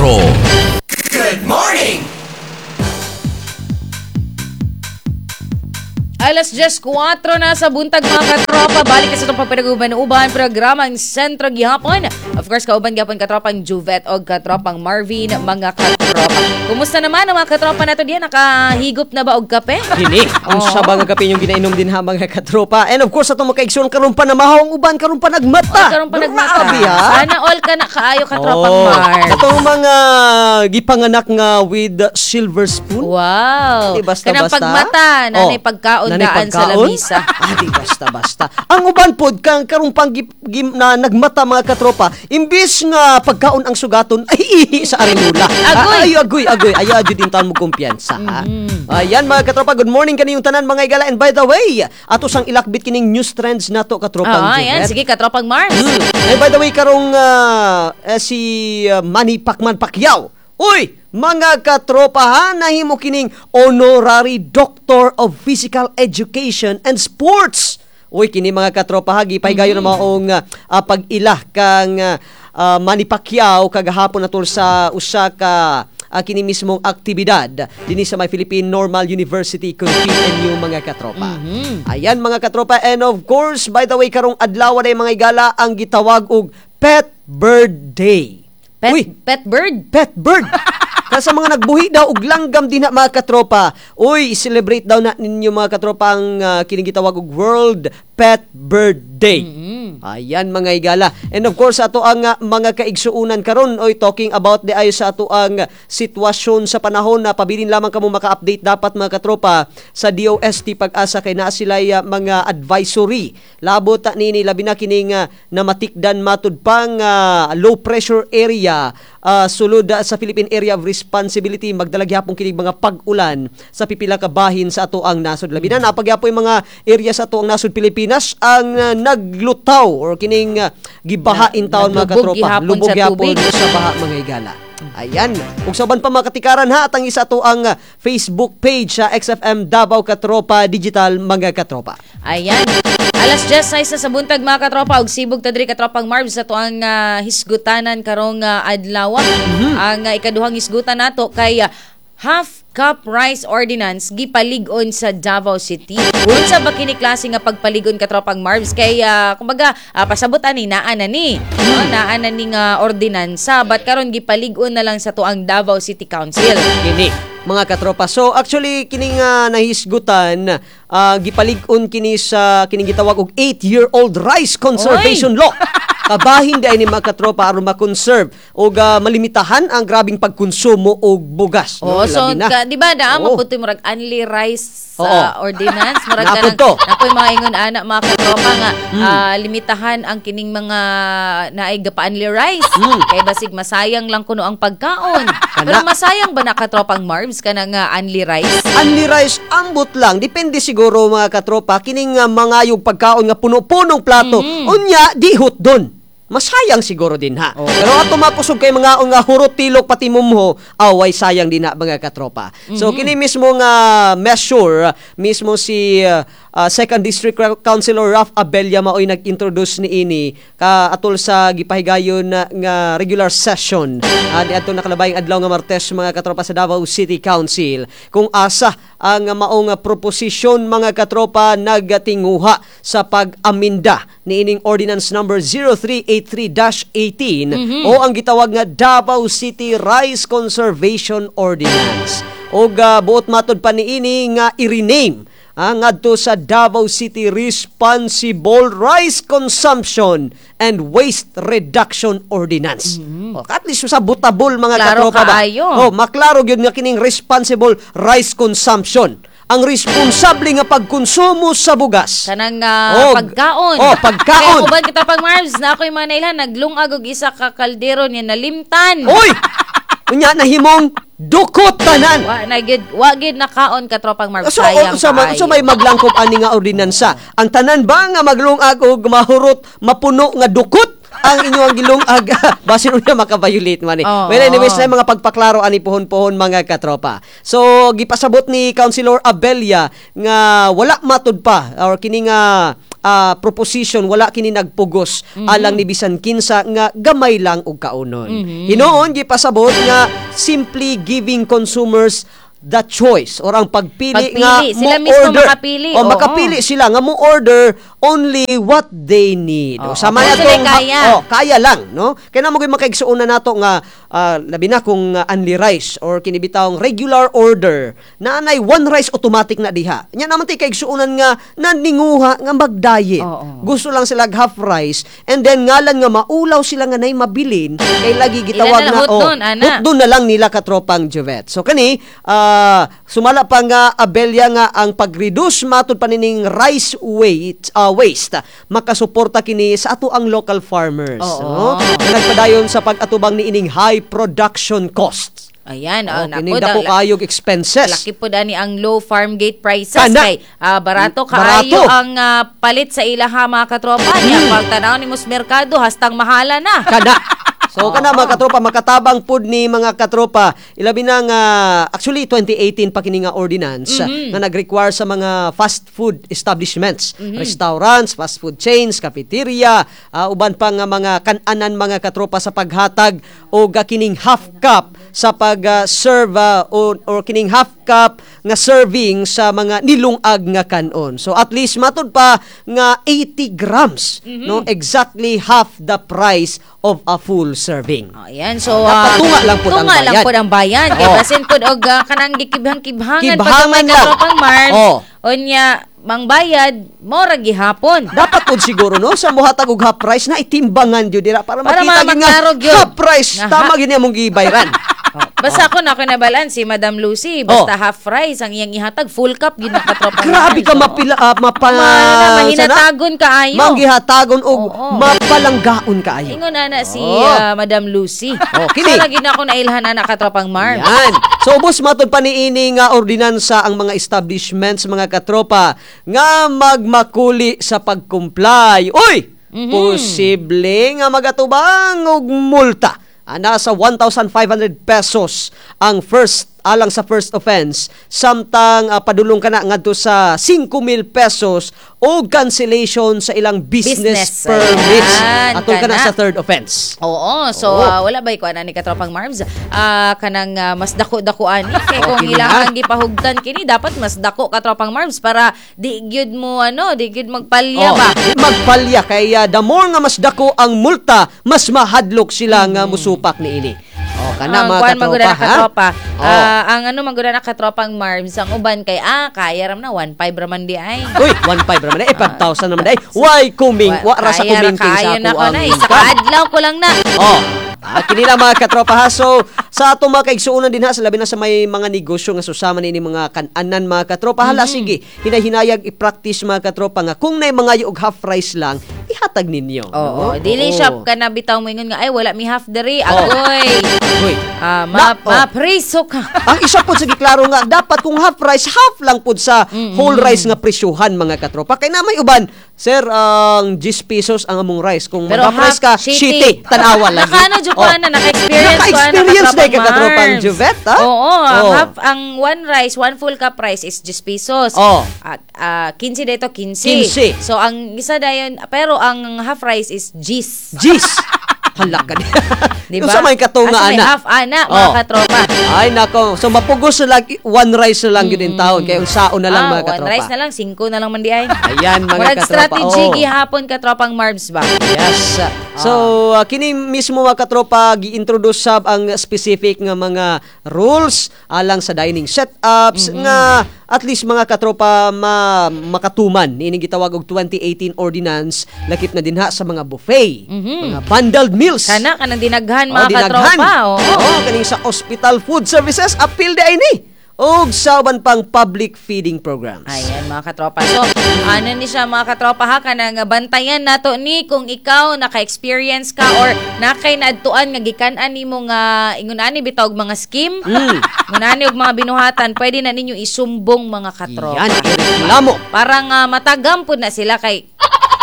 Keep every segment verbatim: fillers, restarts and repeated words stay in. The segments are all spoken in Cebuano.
Sentro. Good morning! Alas diyes kuwatro na sa buntag, mga katropa. Balik ka sa itong pagpanaguban-uban programa ang Sentro gihapon. Of course, kauban gihapon katropang Juvet o katropang Marvin, mga katropa. Kumusta naman ang mga katropa nato diyan? Nakahigop na ba og kape? Kini, unsa ba nga kape yung ginainom din ha, mga katropa? And of course, atong makaigsoon, karon pa na mahaw ang uban, karon pa nagmata. Oy, karon pa nagmata. Grabe ha. Sana all ka na kaayo, katropang Oh, Mar. Atong mga gipanganak nga with silver spoon. Wow. Di basta Kanang basta. pagmata, nanay Oh, pagkaon nanay daan sa pagkaon? lamisa. Ah, di basta basta. Ang uban pod kang karong pang gi- gi- na nagmata, mga katropa, imbis nga pagkaon ang sugaton ay ihi sa arenula. Agoy! Ah, ay agoy agoy. Ay jud in taon mo kumpiyansa ha. Mm-hmm. Ayan, mga katropa, good morning kaniyong tanan, mga igala. And by the way, ato sang ilakbit kining news trends nato, katropang Ah, ayan. Juvet. Sige, katropang Mars. Mm. And by the way, karong ah, eh, si ah, Manny Pacman Pacquiao. Uy, mga katropa ha, nahimo kining honorary Doctor of Physical Education and Sports. Uy, kini, mga katropa ha, gipahigayon na maong ah, ah, pag-ila kang ah, ah, Manny Pacquiao kagahapon natol sa usa ka ah, kini mismong aktibidad dinhi sa may Philippine Normal University kung P N U, mga katropa. Ayan, mga katropa, and of course, by the way, karong adlaw na mga igala ang gitawag og Pet Bird Day. Pet, Uy, pet bird. Pet bird. Kaya sa mga nagbuhi daw og langgam din na, mga katropa. Uy, celebrate daw na ninyo, mga katropa, ang uh, kining gitawag og World Pet Bird Day. Ayan, mga igala. And of course, ato ang uh, mga kaigsuunan karon, oy, talking about the ay sa ato ang uh, sitwasyon sa panahon na pabilin lamang kamo maka-update dapat, mga katropa, sa D O S T Pag-asa kay naa sila uh, mga advisory. Labot ta nini, labi na kining uh, namatikdan matud pang uh, low pressure area uh, sulod uh, sa Philippine Area of Responsibility, magdala gyapon kining mga pag-ulan sa pipila ka bahin sa ato ang nasod. Labi na napagyapon yung mga area sa ato ang nasod Pilipinas ang uh, naglutaw or kining uh, gibaha in taon, mga Naglubog katropa. gihapon Lubog sa gyapon tubig. sa baha, mga igala. Ayan. Ug sa uban pa, mga katikaran ha, at ang isa to ang uh, Facebook page sa X F M Davao Katropa Digital, mga katropa. Ayan. Alas diyes sais na sa buntag, mga katropa, ug sibog ta diri, katropang Marbs, sa tuang uh, hisgutanan karong uh, adlaw. Ang uh, ikaduhang hisgutan nato kay ah, half cup rice ordinance gipalig-on sa Davao City. Unsa ba kini klase nga pagpalig-on, katropang Marbs? Kay ah, kumbaga ah, pasabot ani naa na ni. No, naa na ni nga ordinansa, but karon gipalig-on na lang sa tuang Davao City Council. Kini, mga katropa. So actually kining uh, nahisgutan, uh, gipalig-on kini sa kining gitawag og eight-year-old rice conservation law. Kabahin di ay ni, mga katropa, aron ma-conserve og uh, malimitahan ang grabing pagkonsumo og bugas. Oh, no? so Labi na. ka, di ba naa Oo. maputoy murag unli rice Oo. sa ordinance, murag Napod kanang to. napoy mga ingon ana, mga katropa, nga Hmm. ah, limitahan ang kining mga naay gapa-unli rice kay basig masayang lang kuno ang pagkaon. Kana. Pero masayang ba na, katropang Marbs, kanang uh, unli rice? Unli rice, ambot lang. Depende siguro, mga katropa, kining uh, mga yung pagkaon nga puno-punong plato. Mm-hmm. Unya, di hutdon. Masayang siguro din ha. Pero ato makusog kay mga nga hurot tilok pati mumho, away sayang din na, mga katropa. So Mm-hmm. kini mismo nga measure, mismo si uh, uh, Second District Councilor Ralph Abella maoy nag-introduce niini ka atol sa gipahigayon na nga regular session uh, niadto nakalabayng adlaw nga Martes, mga katropa, sa Davao City Council, kung asa ang maong proposisyon, mga katropa, nagtinguha sa pag-aminda niining Ordinance Number zero three eight three dash eighteen o ang gitawag nga Davao City Rice Conservation Ordinance. Og uh, buot matod pa niini nga i-rename ang ngadto sa Davao City Responsible Rice Consumption and Waste Reduction Ordinance. Oh, at least sa butabol, mga Klaro katropa ba? kaayo. Oh, maklaro gyud nga kining responsible rice consumption. Ang responsable nga pagkonsumo sa bugas. Kanang ah, Oh, pagkaon. oh, pagkaon. Kaya uban kita pang Marbs na ako'y mga nailhan naglungag og isa ka kaldero niya nalimtan. Oy! Unya nahimong dukot tanan. Wa na gyud wa gyud nakaon, katropang Marbs. So, Sayang o, sa, ma- kaayo. so may maglangkob ani nga ordinansa. Ang tanan ba nga maglungag og mahurot mapuno nga dukot ang inyong gilungag, basin unya maka-violate man eh. Oo. Well, anyways, na mga pagpaklaro ani pohon-pohon, mga katropa. So gipasabot ni Councilor Abella nga wala matud pa or kini nga ah, proposition wala kini nagpugos alang ni bisan kinsa nga gamay lang og kaunon. Hinuon gipasabot nga simply giving consumers the choice or ang pagpili, Pagpili. nga Sila mo mismo order. makapili. O Oo. makapili sila nga mo order only what they need. O Oo. sama Kung na sila tong kaya. oh, kaya lang, no? Kaya na mo gyud makaigsuonan nato nga ah, labi na kung uh, only rice or kini bitawng regular order na anay one rice automatic na diha. Nya naman tay kaigsuonan nga naninguha nga mag-diet. Oo. Gusto lang sila half rice and then ngalan nga maulaw sila nga nay mabilin kay lagi gitawag Ilan na na lang, oh, hutdon, ana. hutdon na lang nila katropang Juvet. So kani ah, sumala pa nga abelya nga ang pag-reduce matud pa nining rice weight ah, waste makasuporta kini sa ato ang local farmers, Oo. no? Nga nagpadayon sa pag-atubang niining high production costs. Ayan, oh, Oh, kining naku, dako da- kaayog expenses. Laki po dani ang low farm gate prices Kana. kay ah, barato kaayo Barato. ang ah, palit sa ilaha mga katropa niya pag tanaw ni sa merkado hastang mahala na. Kana. So kana mga katropa makatabang pud ni mga katropa ilabi na nga actually twenty eighteen pa kini nga ordinance nga nag-require sa mga fast food establishments, restaurants, fast food chains, cafeteria, ah, uban pa nga mga kan-anan mga katropa sa paghatag og ah, kining half cup sa pag-serve or, or kining half cup nga serving sa mga nilungag nga kanon. So at least matud pa nga eighty grams, no, exactly half the price of a full serving. Oh, ayan. So, Dapat ah, tunga lang pud ang tunga lang bayan. pud ang bayan. Kay Oh. basin pud og ah, kanang gikibhang-kibhangan pag Kibhangan may lang. katropang Mars. Oh. Unya, mangbayad, mora gihapon. Dapat pud siguro no sa mohatag og half price na itimbangan gyud dira para, Para makita gyud nga maklaro gyud. half price Nga tama ha- gyud niya mong gibayran. Oh, basta ako na ako nabalan si Madam Lucy, basta Oh. half rice ang iyang ihatag, full cup gyud na katropang Grabe Mars. ka Oo. mapila uh, mapa Ma, na, mahinatagon kaayo. Manggihatagon og Oo. mapalanggaon kaayo. Ingon ana si Oh. ah, Madam Lucy. Oh, kini. So, lagi na ako nailhan ana katropang Mars. Yan. So ubos matud pa niini nga ordinansa ang mga establishments mga katropa nga magmakuli sa pag-comply. Uy! Mhm. Posible nga magatubang og multa. Ah, nasa one thousand five hundred pesos ang first alang sa first offense samtang ah, padulong ka na ngadto sa five thousand pesos o cancellation sa ilang business, Business. permits. Ayan, Atol ka na kana. sa third offense. Oo, so Oo. ah, wala ba ikuan ani katropang Marbs? Ah, kanang ah, mas dako-dako ani kay kung Okay ilang na. ang gipahugtan kini dapat mas dako katropang Marbs para di gyud mo ano, di gyud magpalya Oh, ba. magpalya kay uh, the more nga mas dako ang multa, mas mahadlok sila nga musupak niini. Oh, kana Ang mga kuan man gud na katropa, ha? katropa. Oh. Ah, ang ano man gud na katropang Marbs, ang uban kay ah kaya ram na one point five raman di ay. Uy, one point five raman eh, five thousand naman ay. Why kuming? Wa ra sa Kaya ra kumingking sa kaayo na ako ko ang na isa income. ka adlaw ko lang na. Oh. Ah, kini na mga katropa ha. So, sa atong mga kaigsuonan din ha, sa labi na sa may mga negosyo nga susama ni mga kananan mga katropa, hala Mm-hmm. sige, hinahinayag i-practice mga katropa nga kung nay mga og half rice lang, ihatag ninyo. Oo, no? dili Oo. siya ka na bitaw mo ingon nga ay wala mi half diri Oh. agoy. Uy. Ah, ma Na- oh. mapriso ka. Ang isa po sa giklaro nga dapat kung half rice, half lang pud sa whole rice nga presyuhan mga katropa. Kay na may uban, sir, ang ten pesos ang among rice. Kung Pero mag half rice ka, half, shitty, tanawa lagi. Nakaano jud ko Oh. ana, naka-experience ko ana Naka-experience katropang na katropang Marbs. Juvet, ha? Oo, ang Oh. half ang one rice, one full cup rice is ten pesos. Oh. At ah, fifteen dito, fifteen. fifteen. So ang isa dayon, pero ang half rice is ten. Jeez. Hala ka niya. Di ba? Unsa may katunga Asa may ana? half ana mga Oh. katropa. Ay nako, so mapugos na lang one rice na lang yun in taon kay unsaon na lang ah, mga one katropa. rice na lang, five na lang man di ay. Ayan mga Murag katropa. strategy Oh. gihapon katropang Marbs ba? Yes. So, uh, kini mismo mga katropa gi-introduce sab ang specific nga mga rules alang sa dining setups nga at least mga katropa ma makatuman niini gitawag og twenty eighteen ordinance lakip na dinha sa mga buffet, mga bundled meals. Kana kanang dinaghan Oh, mga dinaghan. katropa. Oo. Oo, kaning sa hospital food services appeal di ay ni. Og sa uban pang public feeding programs. Ayan mga katropa. So, ano ni siya mga katropa ha kanang bantayan nato ni kung ikaw naka-experience ka or nakay naadtuan nga gikan-an nimo nga ingon ani bitaw og mga scheme. Mm. Ingon ani og mga binuhatan, pwede na ninyo isumbong mga katropa. Yan, ireklamo. Para nga matagam pud na sila kay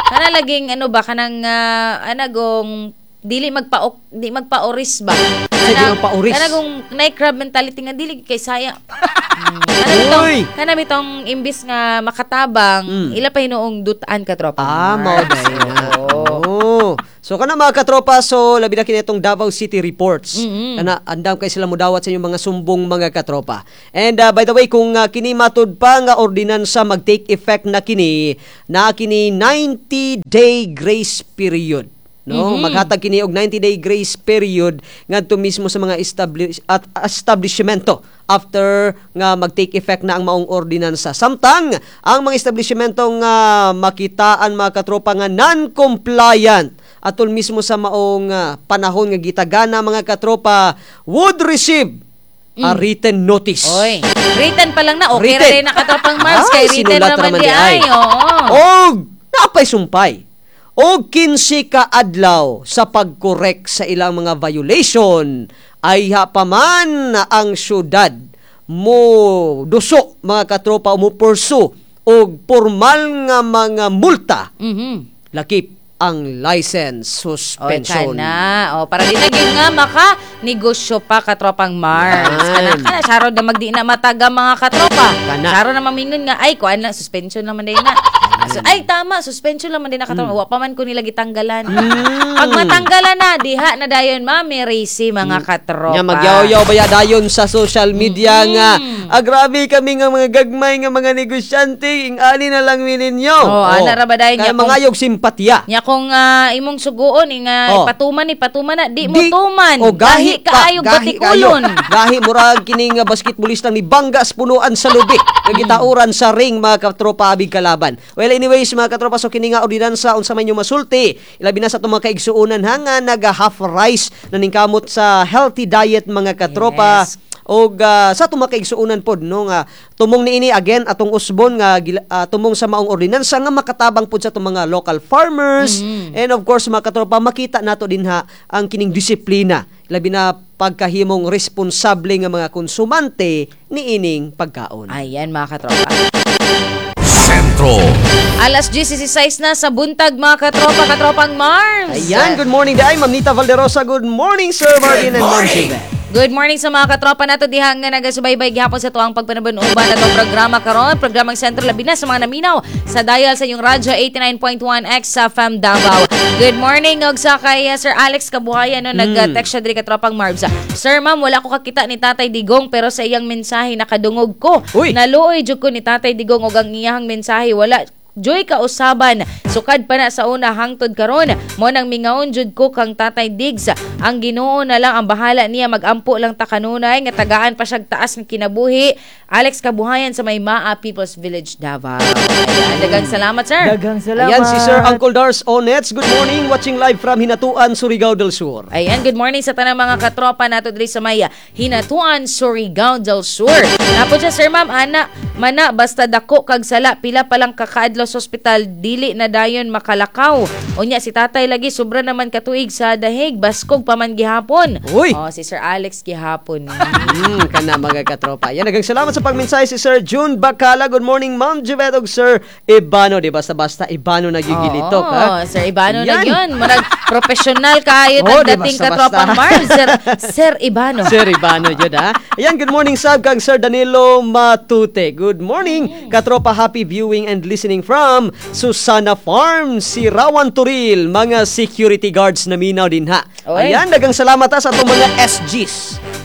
kana laging ano ba kanang uh, anagong dili magpa di magpaoris ba. Sa di magpaoris. Kana kung naay crab mentality nga dili kay saya. Mm. Kana bitong Uy! kana bitong imbis nga makatabang, Mm. ila pa hinuong dutan, katropa. Ah, mao Marbs. day na. Oo. Oh. So kana, mga katropa, so labi na kini itong Davao City Reports. Mm-hmm. Kana andam kay sila mudawat sa inyong mga sumbong, mga katropa. And uh, by the way, kung uh, kini matud pa nga ordinansa mag-take effect na kini, na kini ninety day grace period. No, Mm-hmm. maghatag kini og ninety day grace period ngadto mismo sa mga establish at establishmento after nga mag-take effect na ang maong ordinansa. Samtang ang mga establishmento nga makitaan, mga katropa, nga non-compliant atol mismo sa maong ah, panahon nga gitagana, mga katropa, would receive a written notice. Oy, written pa lang na okay Written. ra din na, katropang Marbs, Ay, kay written sinulat naman raman di ay. Oo. Og napay sumpay. Og kinse ka adlaw sa pag-correct sa ilang mga violation ay ha pa man ang syudad mo duso, mga katropa, o mo pursue og formal nga mga multa Mhm. lakip ang license Oy, suspension. kana. O, para di na gyud nga maka negosyo pa, katropang Marbs. Yan. Kana kana saro na magdi na mataga, mga katropa. Kana. Saro na mamingon nga ay kuan lang, suspension naman din na. So, ay tama, suspension lang man din na, katropa. Mm. Wa pa man ko nila gitanggalan. Pag matanggalan na diha na dayon Mami Racy, mga katropa. Nga magyaw-yaw baya dayon sa social media nga ah, grabe kami nga mga gagmay nga mga negosyante, ing-ani na lang mi ninyo. Oh, ana ra ba dayon Kaya niya kung- mangayog simpatiya. Nya kung ah, imong suguon nga Oh. ipatuman ni patuman na di mo Di- tuman. O gahi pa, kaayo gahi kaayo. batikulon. Gahi murag kining nga basketballista ni banggas punuan sa lubi nga gitauran sa ring, mga katropa, abig kalaban. Well, anyways, mga katropa, so kini nga ordinansa, unsa man yung masulti ilabi na sa atong mga kaigsuonan ha nga naga half rice na ningkamot sa healthy diet, mga katropa? Yes. Og ah, sa atong mga kaigsuonan pod, no, nga tumong niini again atong usbon nga gila- ah, tumong sa maong ordinansa nga makatabang pod sa atong mga local farmers and of course, mga katropa, makita nato dinha ang kining disiplina labi na pagkahimong responsable nga mga konsumante niining pagkaon. Ayan, mga katropa. Sentro. Alas labing sais na sa buntag, mga katropa, katropang Marbs. Ayan, good morning day, Ma'am Nita Valderosa. Good morning, Sir Martin and Ma'am Jive. Good morning sa mga katropa nato diha nga nagasubaybay gihapon sa tuang pagpanaban-uban atong programa karon, programang Sentro, labi na sa mga naminaw sa dial sa inyong radyo eighty-nine point one X sa F M Davao. Good morning og sa kay uh, Sir Alex Kabuhayan, no, nag-text siya diri, katropang Marbs. "Sir, ma'am, wala ko kakita ni Tatay Digong pero sa iyang mensahe nakadungog ko. Uy! Naluoy jud ko ni Tatay Digong og ang iyang mensahe wala joy kausaban. Sukad pa na sa una hangtod karon. Mo nang mingaon jud ko kang Tatay Diggs. Ang Ginoo na lang ang bahala niya, magampo lang ta kanunay nga tagaan pa siyag taas ng kinabuhi." Alex Kabuhayan sa may Maa People's Village, Davao. Ayan, daghang salamat, sir. Daghang salamat. Ayan si Sir Uncle Dars Onets. Good morning, watching live from Hinatuan, Surigao del Sur. Ayan, good morning sa tanang mga katropa nato diri sa may Hinatuan, Surigao del Sur. Napo siya, "Sir, ma'am, ana, mana basta dako kag sala, pila pa lang kakaadlaw sa ospital, dili na dayon makalakaw. Unya si tatay lagi sobra naman katuig sa dahig, baskog pa man gihapon." Uy! Oh, si Sir Alex gihapon. Mm, kana, mga katropa. Yan, daghang salamat sa pagmensahe si Sir June Bacala. Good morning, Ma'am Juvet ug Sir Ibano. Di basta-basta Ibano nagigilitok, Oo, ha? Sir Ibano na Yan. yun. Marag professional kaayo Oh, di dating basta-basta. katropang Marbs. Sir, Sir Ibano. Sir Ibano yun, ha? Ayan, good morning, sab kang Sir Danilo Matute. Good morning, katropa. Happy viewing and listening from Susana Farm, Sirawan Turil. Mga security guards na minaw din, ha. Oy. Ayan, daghang salamat ha, sa atong mga S Gs.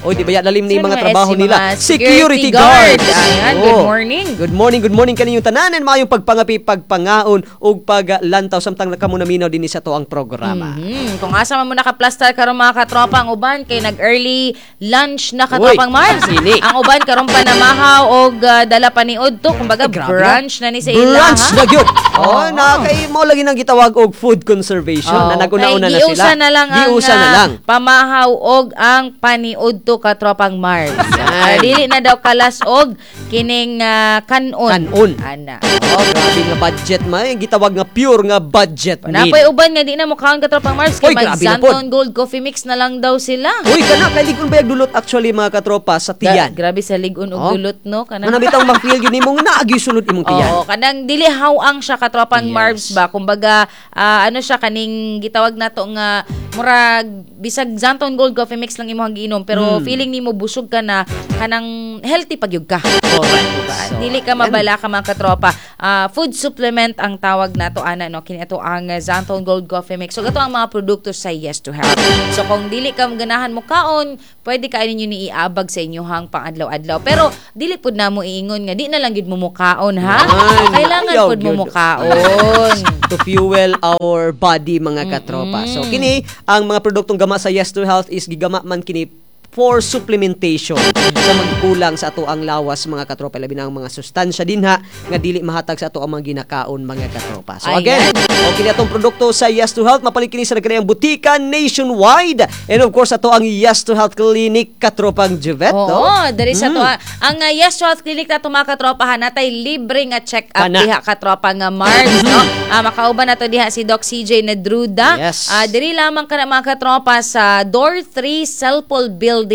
Oy, di ba ya, lalim ni Sino mga mga trabaho S G? nila? Mga Security security guard. guards. Ayan, good Oh. morning. Good morning, good morning kaninyong tanan and maayong pagpangapi, pagpangaon ug paglantaw samtang kamo naminaw dinhi sa atoang programa. Mhm. Kung asa man mo nakaplastar karon, mga katropa, ang uban kay nag-early lunch na, katropang Uy, Marbs. sini. Ang uban karon pa namahaw og uh, dala paniud to, kumbaga Ay, grabe brunch na ni sa ila. Brunch ha? na gyud. Oh, Oo. na kay mo lagi nang gitawag og food conservation Oo. na naguna-una Kay na sila. giusa na lang ang Giusa na ah, lang. pamahaw og ang paniud to, katropang Marbs. Yan. Para dili na daw kalas og kining ah, kanon. Kanon. Ana. Oh, grabe nga budget man. Yung gitawag nga pure nga budget meal. Napoy uban nga di na mukhaon, katropang Marbs, kay Uy, grabe na pod. mag Zanton Gold Coffee Mix na lang daw sila. Uy, kana kay ligon bayag dulot actually, mga katropa, sa tiyan. Gra- grabe sa ligon og Oh. dulot, no, kanang Ano bitang ma-feel yun nimo nga naagyoy sulod imong tiyan. Oo, kanang dili hawang siya, katropang Yes. Marbs ba. Kumbaga, ah, ano siya, kaning gitawag nato nga murag bisag Xanthone Gold Coffee Mix lang imong giinom, pero Mm. feeling nimo busog ka na, kanang healthy pagyud ka. Correct. Diba? So, Dili ka ayan. mabala ka, mga katropa. Ah, food supplement ang tawag nato ana, no, kini ato ang uh, Xanthone Gold Coffee Mix. So gato ang mga produkto sa Yes to Health. So kung dili ka ganahan mo kaon, pwede ka ninyo ni iabag sa inyohang pang-adlaw-adlaw. Pero dili pud namo iingon nga di na lang gid mo mukaon ha. Yan. Kailangan Ayaw pud mo gyud. mukaon. To fuel our body, mga katropa. So kini ang mga produktong gama sa Yes to Health is gigama man kini for supplementation sa magkulang sa ato ang lawas, mga katropa, labi na ang mga sustansya dinha nga dili mahatag sa ato ang mga ginakaon, mga katropa. So Ayan. again, okay na atong produkto sa Yes to Health, mapalit kini sa nagkanayang butika nationwide and of course ato ang Yes to Health Clinic, katropang Juvet, no? Oo, diri sa Mm. to. Ang uh, Yes to Health Clinic na mga katropa ha, natay libre nga check-up Kana. diha, katropa nga Marbs, no? Ah, makauban nato diha si Doc C J Nadruda. Yes. Ah, diri lamang kana, mga katropa, sa Door three Celpol Building,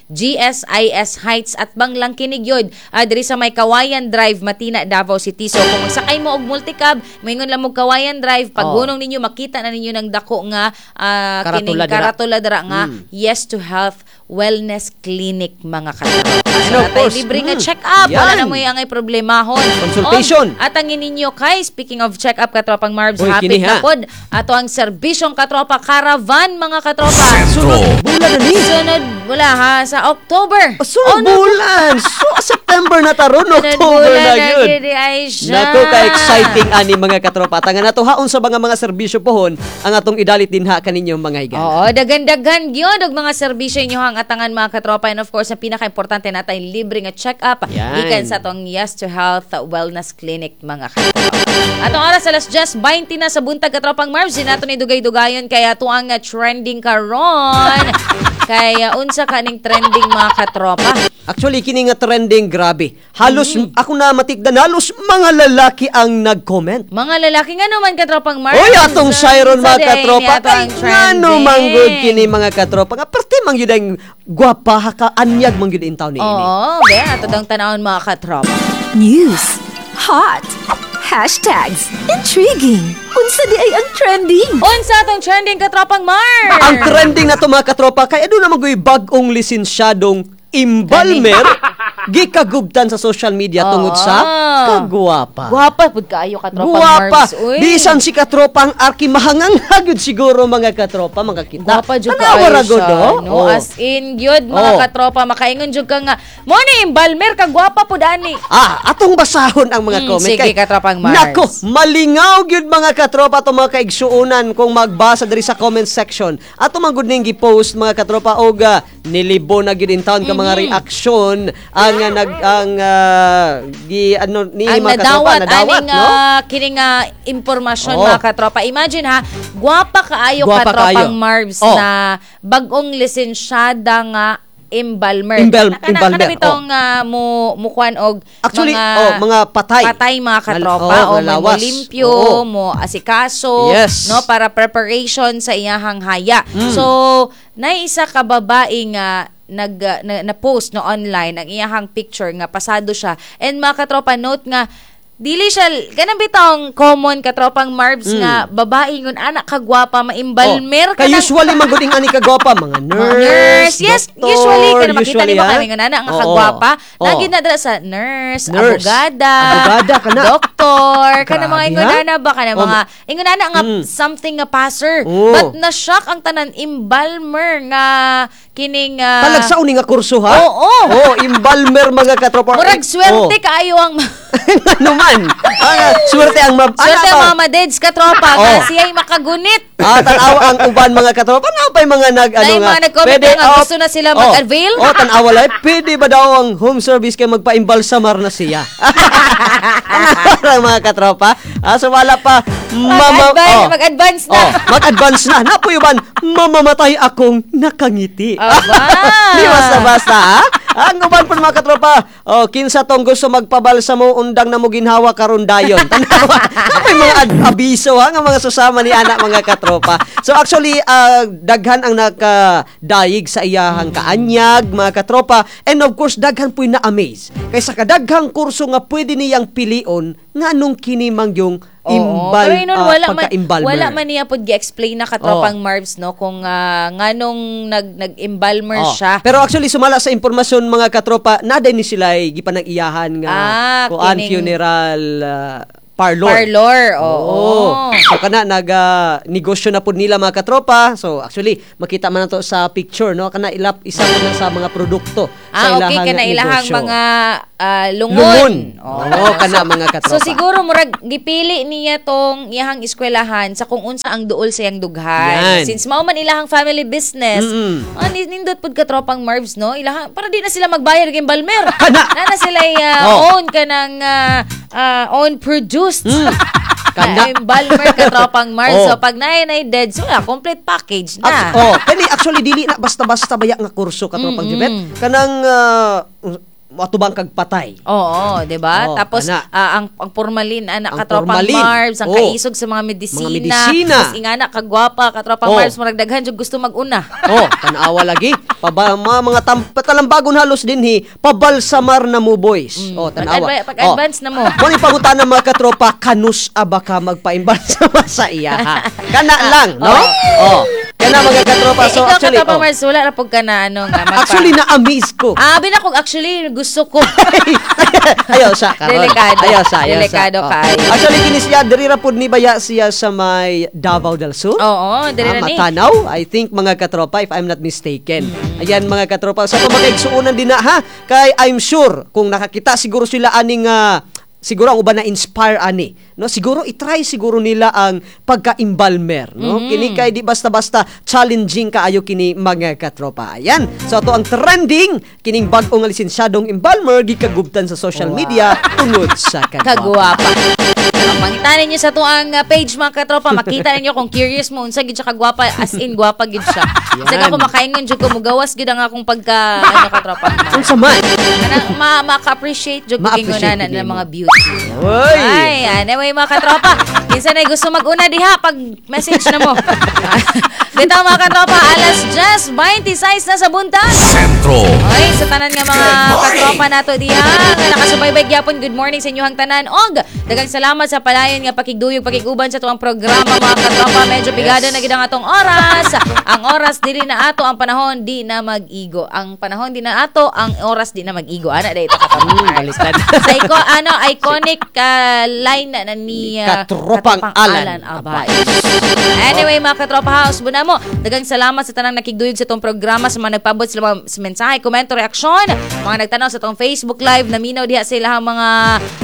G S I S Heights at banglang kinig yun. Ah, diri sa may Kawayan Drive, Matina, Davao City. So kung magsakay mo og multicab, moingon lang mo Kawayan Drive, Oh. paghunong ninyo makita na ninyo ng dako nga ah, kining Karatula dira. karatula dira nga Mm. Yes to Health Wellness Clinic, mga katropa. So, And of natay course, libre nga mm, check-up. Wala yan. na mo yung angay problemahon. Consultation. Og, at ang ninyo kay, speaking of check-up, katropang Marbs, Uy, hapit kini, na ha. pod ato ang serbisyong katropa caravan, mga katropa. Sentro. Bulan na ni. Sunod wala ha sa October. Oh, sunod Oh, no. bulan. So, September na taron, Sunod October bulan na na yun. gid ay siya. Nako, ka-exciting ani, mga katropa. Tanga na to haon sa mga mga serbisyo pohon ang atong idalit dinha kaninyo, mga higala. Oo, dagan-dagan gyud og mga serbisyo inyo ang atangan, mga katropa, and of course ang pinaka-importante natay libre nga check-up Yan. gikan sa atong Yes to Health Wellness Clinic, mga katropa. Atong oras, alas diyes baynte na sa buntag, katropang Marbs, di nato ni dugay-dugayon kaya tuang nga trending karon. Kaya unsa kaning trending, mga katropa? Actually, kini nga trending, grabe. Halos Mm. ako na matikdan, halos mga lalaki ang nag-comment. Mga lalaki nga naman, katropang Marbs. Oy, atong Sharon, Unsa mga di ay katropa. ni ato Kay ang ngano man gud trending? kini, mga katropa? Nga parte man gyud ang gwapa ha ka anyag man gyud in taon ni ini. Oo, be, ato dang tanawon, mga katropa. News. Hot. Hashtags. Intriguing. Unsa di ay ang trending? Unsa atong trending, katropang Marbs? Ang trending na to, mga katropa, kay aduna man gyud bag-ong lisensyadong embalmer gikagubtan sa social media tungod sa Oo. kagwapa. Gwapa pud kaayo, katropang Guwapa. Marbs. Uy. Bisan si katropa ang Arki mahanganghagod siguro, mga katropa, mga kita. Gwapa jud Tanawa kaayo ra gud, siya, oh. no? Oh. As in gyud, mga Oh. katropa, makaingon jud ka nga mo ni embalmer ka gwapa pud ani. Ah, atong basahon ang mga Mm, comment. sige, Kay- katropang Mars. Nako, malingaw gyud, mga katropa, atong mga kaigsuonan kung magbasa diri sa comment section. Ato man gud ning gi-post, mga katropa, og ah, nilibo na gyud in town ka Mm-hmm. mga reaksyon ang ah, nag ang ah, gi ano ni Ang mga katropa nadawat, nadawat, aning no? ah, kining ah, impormasyon, Oh. mga katropa. Imagine ha, gwapa kaayo, Gwapa katropang kaayo. Marbs, Oh. na bagong lisensyada nga embalmer. Embal- Kana- embalmer, Kana bitong ah, mo mukuan og Actually, mga oh, mga patay. Patay, mga katropa, Nal- oh, o may lawas. mo limpyo, Oo. mo asikaso, Yes. no, para preparation sa iyahang haya. Mm. So, nay isa ka babae nga nag uh, na, na post no online ang iyahang picture nga pasado siya. And mga katropa, note nga dili siya kanang bitong common, katropang Marbs, nga babae ngun anak kagwapa maimbalmer Mm. Oh, kay usually man gud ing ani kagwapa mga nurse, mga nurse. Yes, doktor, usually kana makita usually, nimo ha? kami nga nana nga Oo. kagwapa. Oo. Lagi na dira sa nurse, Nurse. abogada, Abogada kana. doktor, kana mga Grabe, ingon ha? ana ba kana Oh, mga ingon ana nga Mm. something nga passer. Oo. But na-shock ang tanan, embalmer nga kining uh, Talagsa uni nga kurso ha? Oo. Oh, embalmer, mga katropa. Murag swerte Oh. kaayo ang Ano man? Ang ah, swerte ang mab swerte Ana ang ba? mga madeds, katropa, nga Oh. siya'y makagunit. Ah, tanawa ang uban, mga katropa. Ano pa yung mga nag ano Nay, nga? mga nag-comment na nga, gusto na sila mag-avail? Oh, tanawa lang. Pwede ba daw ang home service kay magpa-embalsamar na siya? Tanawa lang, mga katropa. Ah, so wala pa mama Mag-advance, oh. mag-advance na. Oh, mag-advance na. Napuy uban, mamamatay akong nakangiti. Aba. Di basta-basta, ha? Ang uban po, mga katropa, oh, kinsa tong gusto magpabalsa mo undang na mo ginhawa karon dayon. Tanawa. May mga ad- abiso ha nga mga susama ni anak, mga katropa. So actually ah, daghan ang nakadayig sa iyahang kaanyag, mga katropa, and of course daghan pu'y na-amaze. Kay sa kadaghang kurso nga pwede niyang pilion, nganong kini man yung Oo. imbal, Pero yun, ah, wala man, pagka-embalmer. wala man niya pod gi-explain na katropang Marvs no kung ah, nganong nag nag-embalmer Oh. siya. Pero actually sumala sa impormasyon mga katropa, naday ni sila ay gipanag-iyahan nga Ah, kuan kining- funeral ah, parlor. Parlor, oo. So kana naga negosyo na pud nila mga katropa. So actually makita man nato sa picture no kana ilap isa po na sa mga produkto sa Ah, okay ilahang kana ilahang negosyo. mga ah, lungon. Lungon. Oo, kana mga katropa. So siguro murag gipili niya tong iyahang eskwelahan sa kung unsa ang duol sa iyang dughan. Yan. Since mao man ilahang family business, Mm-mm. ah, ni- nindot pud katropang Marvs no, ilahang para di na sila magbayad kay embalmer. Kana. Na na sila ah, Oh. own kanang ah, ah, own produced. Mm. Kana. Na embalmer katropang Marvs. Oh. So pag naay na dead, so yeah, complete package na. Actu- oh, kani actually dili na basta-basta baya nga kurso katropang Jubet. Kanang uh, atubang kag patay. Oo, 'di ba? Oo, Tapos ana. ah, ang ang formalin ana Ang katropang formalin. Marbs, ang Oo. kaisog sa mga medisina. Mga medisina. Tapos ingana kagwapa katropang Oo. Marbs murag daghan jud gusto mag-una. Oh, tanawa lagi. Paba, mga, mga tam, talambagon halos din hi, pabalsamar na mo boys. Oh, tanawa. Pag-adva- pag-advance na mo. Mo ni pangutana mga katropa, kanus aba ka magpaimbalsama sa iya ha. Kana lang, no? Oh. Kana mga katropa. Eh, So ikaw actually, katropang oh. Marbs, wala ra pud ka na ano nga magpa- Actually na-amaze ko. Ah, abi na kung actually gusto ko. Ayaw sa karon. Delikado. Ayaw sa, ayaw sa. Delikado Oh. kaayo. Actually kini siya diri ra pud ni baya siya sa may Davao del Sur. Oo, diri Ah, ra ni. Matanaw, I think mga katropa if I'm not mistaken. Ayan mga katropa, sa pamakaigsuonan din na ha, kay I'm sure kung nakakita siguro sila aning ah, siguro ang uban na inspire ani no siguro i-try siguro nila ang pagka-embalmer no kini kay di basta-basta challenging kaayo kini mga katropa ayan so ato ang trending kining bag-o nga lisensyadong embalmer gikagubtan sa social media tungod sa kagwapa Kagwapa. Pangita ninyo sa tuang uh, page mga katropa, makita ninyo kung curious mo unsa gid siya kagwapa as in gwapa gid siya. Kasi Yan. ako makaingon jud ko mugawas gid ang akong pagka ano katropa. unsa man Kanang ma maka-appreciate jud ko Ma-appreciate gingunanan gid ng mo. mga beauty. Uy! Ay, anyway mga katropa, kinsa na gusto mag-una diha pag message na mo. Bitaw mga katropa, alas diyes twenty-six na sa buntag. Sentro. Oy, sa tanan nga mga katropa nato diha nga nakasubaybay gyapon good morning sa inyohang tanan og daghang salamat sa palayon nga pakigduyog pakiguban sa tuang programa mga katropa medyo pigado na gid ang atong oras ang oras dili na ato ang panahon di na mag-igo ang panahon di na ato ang oras di na mag-igo ana dai ito katropa Mm, baliktad. sa iko ano iconic ah, line na, na ni ah, Katropang Alan Abay. Anyway, mga katropa house, buna mo. Daghang salamat sa tanang nakigduyog sa itong programa, sa mga nagpabot sa mga sa mensahe, komento, reaksyon, mga nagtanaw sa itong Facebook Live, naminaw diha sa ilahang mga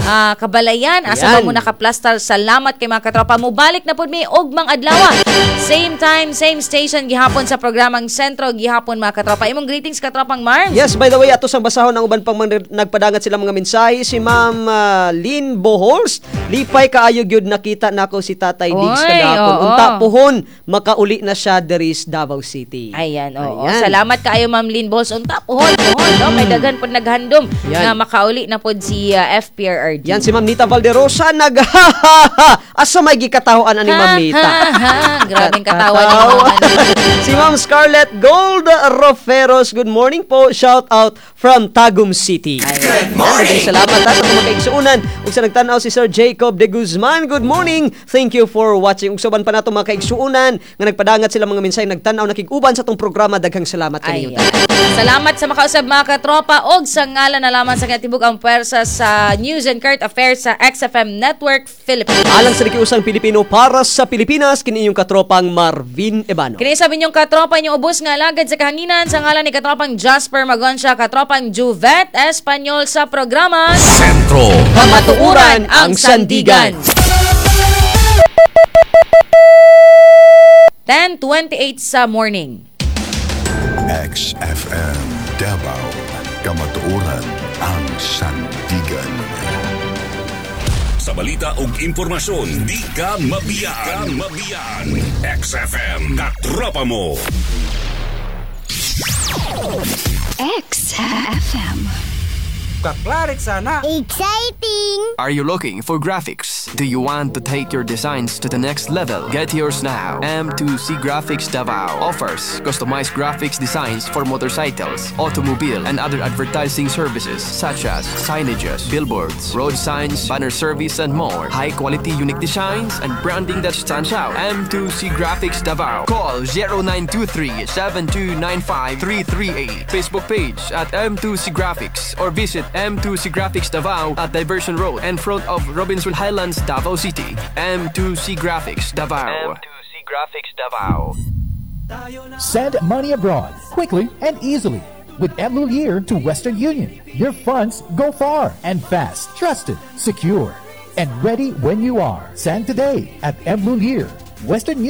ah, kabalayan. Asa ba Ayan. mo nakaplastar? Salamat kay mga katropa. Mubalik na pud mi og mang adlaw. Same time, same station gihapon sa programang Sentro gihapon mga katropa. Imong greetings katropang Mars. Yes, by the way, ato sang basahon ang uban pang mga nagpadangat sila mga mensahe si Ma'am ah, Lynn Bohorst. Lipay kaayo gyud nakita nako si Tatay Diggs Oy, kagahapon. oo. Unta puhon makauli na siya diri sa Davao City. Ayan, oo. Ayan. Salamat kaayo Ma'am Lynn Bols. Unta puhon, puhon, no? May daghan pod naghandom Yan. nga makauli na pod si ah, FPRRD. Yan si Ma'am Nita Valderosa nag Asa may gikatahoan ani Ma'am Nita. Ha, ha, ha. Grabeng katawa ni Ma'am ano. si Ma'am Scarlett Gold Roferos, good morning po. Shout out from Tagum City. Good morning. Salamat ha, sa mga kaigsuunan. Ug sa nagtan-aw si Sir Jacob De Guzman, good morning. Thank you for watching. Ug sa uban pa nato mga kaigsuunan nga nagpadangat sila mga mensahe nagtan-aw nakig-uban sa tong programa. Daghang salamat kaninyo. Ayan. Salamat sa makausab mga katropa og sa ngalan na lamang sa katibuk ang puwersa sa News and Current Affairs sa XFM Network Philippines. Alang sa nakiusang Pilipino para sa Pilipinas, kini inyong katropang Marvin Ebano. Kini sabi ninyong katropa inyong ubos nga alagad sa kahanginan sa ngalan ni katropang Jasper Magonsya, katropang Juvet Espanyol sa programa Sentro. Kamatuoran ang Sandigan. Ten twenty-eight sa morning. XFM Davao, Kamatuoran ang Sandigan. Sa balita ug impormasyon, di ka mabiyaan. Mabiyaan. XFM, katropa mo. XFM. Kaklarik sana. Exciting! Are you looking for graphics, Graphics. Do you want to take your designs to the next level? Get yours now. M two C Graphics Davao offers customized graphics designs for motorcycles, automobile, and other advertising services such as signages, billboards, road signs, banner service, and more. High quality, unique designs and branding that stands out. M two C Graphics Davao. Call zero nine two three, seven two nine five, three three eight. Facebook page at M two C Graphics or visit M two C Graphics Davao at Diversion Road in front of Robinson Highlands, Davao City. M two C Graphics Davao. M two C Graphics Davao. Send money abroad quickly and easily with M Lhuillier to Western Union. Your funds go far and fast, trusted, secure, and ready when you are. Send today at M Lhuillier, Western Union.